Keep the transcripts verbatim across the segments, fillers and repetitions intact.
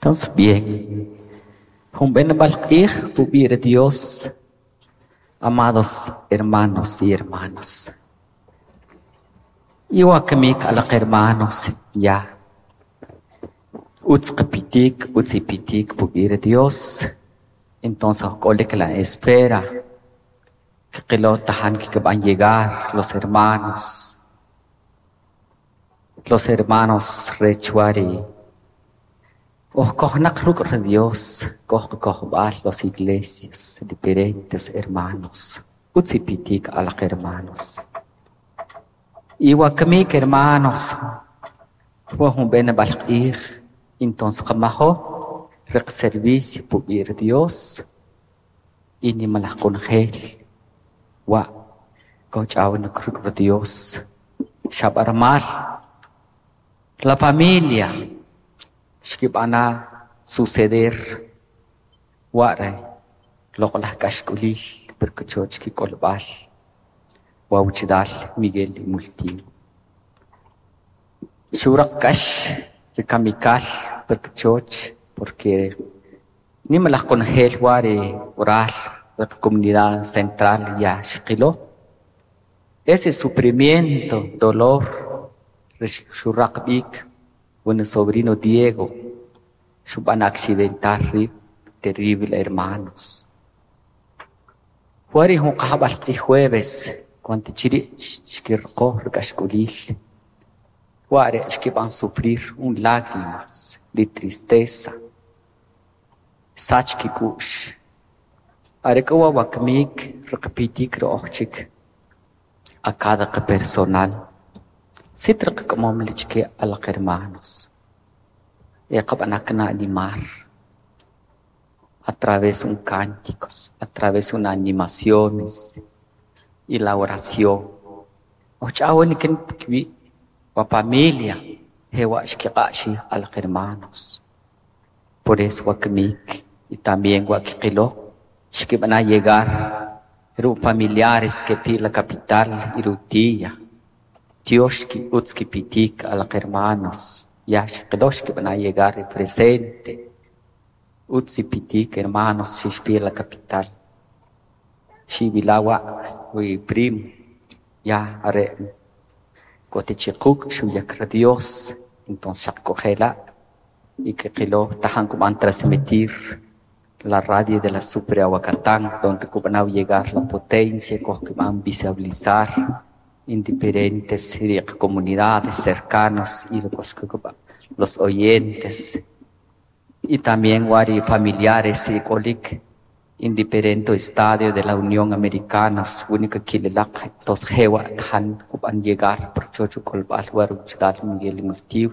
Entonces, bien. Jun b'enb'al q'ij pub'i' ri Dios, amados hermanos y hermanas. Iwa kamik alaq hermanos ya. Utz qapitik, utz ipitik pub'i' ri Dios. Entonces k'olik la espera. Kqilo tajan kikb'an llegar los hermanos. Los hermanos rech wari Oj kojnaq ruk' ri Dios, koj qakojb'al los iglesias, diferentes hermanos. Utz ipitik alaq hermanos. Iwa kamik hermanos, wa jun b'enb'al q'ij, entonces qamajo riq servicio pub'i' ri Dios y nimalaj qonojel wa kojch'awnik ruk' ri Dios. Xab'armal la familia xkib'ana suceder ware loq'laj k'axk'ulil per kachoch kik'olb'al wa wichdal Miguel y Multiw. Xuraq k'ax ri kamikal per kachoch porque nimalaj qonojel wari oral la comunidad central ya xqilo. Ese sufrimiento, dolor, xuraq b'ik un sobrino Diego, xub'an accidentar rib', terrible hermanos. Wari jun qajb'al q'ij jueves, cuando chiri' xkirqo ri k'axk'ulil, ware xkib'an sufrir un lágrimas de tristeza, sach kik'u'x. Are k'o wa wakamik riqpitik ri oj chik a cada personal. Sit riqk'amom chke alaq hermanos. E qab'anak na animar a través un cánticos, a través una animaciones y la oración. Ojch'awnik kiwi' wa familia jewa' xkiq'a'xij alaq hermanos. Por eso wakamik y también wa kqilo xkib'ana llegar ru familiares que pi la capital y rutilla. Dios ki utz kipitik alaq hermanos. Ya xqilo xkib'ana llegar el presente. Utz ipitik hermanos xixpi la capital. Xibilawa wi primo ya are kotichiquk xuyak ri Dios entonces xaqk'ojela y kqilo tajan kub'an transmitir la radio de la Super Aguacatán donde kub'anaw llegar la potencia kojkib'an visibilizar en diferentes comunidades cercanos y los, los oyentes y también wari familiares y k'olik en diferentes estadios de la Unión Americana, única kililaq tos jewa tajan kub'an llegar por chocho k'olb'al war uchdal Miguel Multiw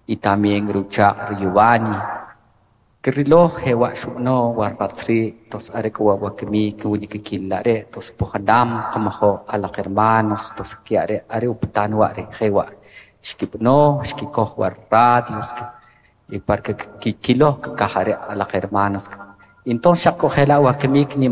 y también rucha Giovanni Kirilo jewa xub'no war ratzri tos are k'o wa wakimik única kilare tos pujandam qamajo alaq hermanos tos kiare are uptan ware jewa xkib'no xkikoj war radios y para que kilo kakajare alaq hermanos entonces xaqk'ojela wakimik ni